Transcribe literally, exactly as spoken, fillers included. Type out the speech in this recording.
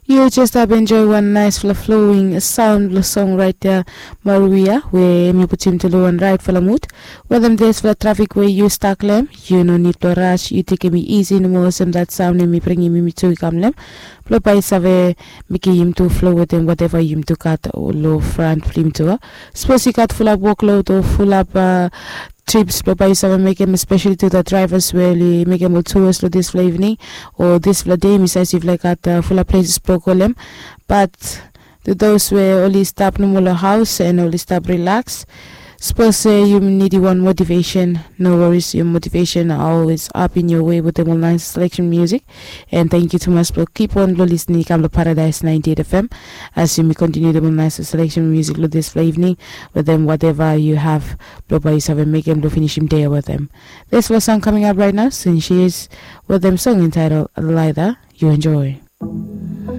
Yu jes stap enjoy wan naisfala flowing saun blong song rait ya, Maruia, we em yu putim tu long wan raitfala mut. Wetem disfala trafik we yu stak long em, yu no nid blong ras, yu tekem i isi nomo olsem dat saun em i bringim yumi tu i kam long em. Blong bae i save mekem yumi tu flo wetem wateva yumi tu gat long fran blong yumi tu a. Sapos yu gat fulap woklod o fulap trips blong bae yu save mekem, espeseli tu dat draivas we oli mekem ol tuas long disfala ivning o disfala dei, mi save se yufala i gat fulap pleses blong go long em. Bat tu dos we oli stap nomo long haos and oli stap rilaks, sapos se yu nidim wan motivesen, no woris, your motivation are always up in your way wetem ol naes selection music. And thank you tumas blong kip on blong listening i kam long Paradise ninety-eight F M. As yumi continue dem ol naes selection music long disfala ivning wetem wateva yu have blong bae yu save mekem blong finisim dei wetem. Disfala song coming up right now, Sincere, wetem song entitled Laida. You enjoy.